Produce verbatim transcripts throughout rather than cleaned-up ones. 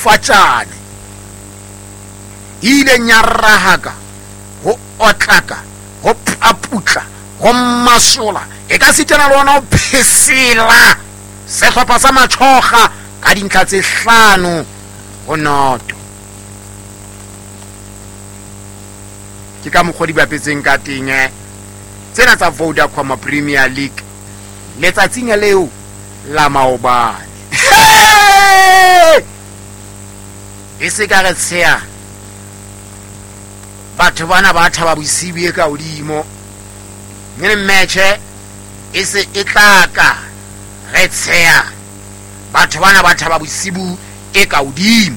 Madifatjane e ileng ya rahaka ho otlaka ho paputla ho masola e ka sitana le ona ho phesela sehlopha sa Machoga ka dintlha tse hlano ho noto. Ke ka mokgwa di bapetseng ka teng tsena tsa Vodacom Premier League letsatsing leo la maobane. E se ka re tsheya batho bana ba thaba bosibu e ka hodimo mme match e se e tla ka re tsheya batho bana ba thaba bosibu e ka hodimo.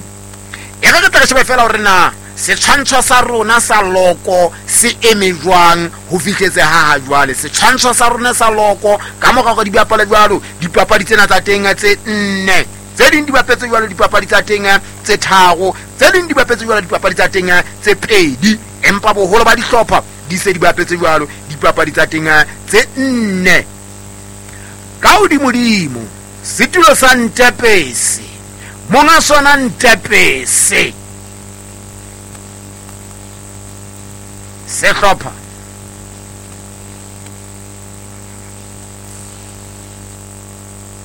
E re re tla re shebe fela hore na setshwantsho sa rona sa loko se eme jwang ho fihletse ha ha jwale. Setshwantsho sa rona sa loko ka mora hore di bapale jwalo dipapadi tsena tsa teng tse nne, tse ding di bapetse jwalo dipapadi tsa teng tse tharo, tse ding di bapetse jwalo dipapadi tsa teng tse pedi, empa boholo ba dihlopha di se di bapetse jwalo dipapadi tsa teng tse nne. Ka hodimodimo setulo sa Ntepese, monga sona Ntepese, sehlopha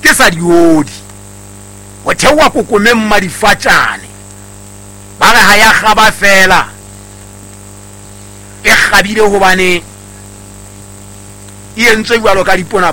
ke sa diodi ho theoha kokomeng Madifatjane ba re ha ya kgaba fela e kgabile hobane e entswe jwalo ka dipona.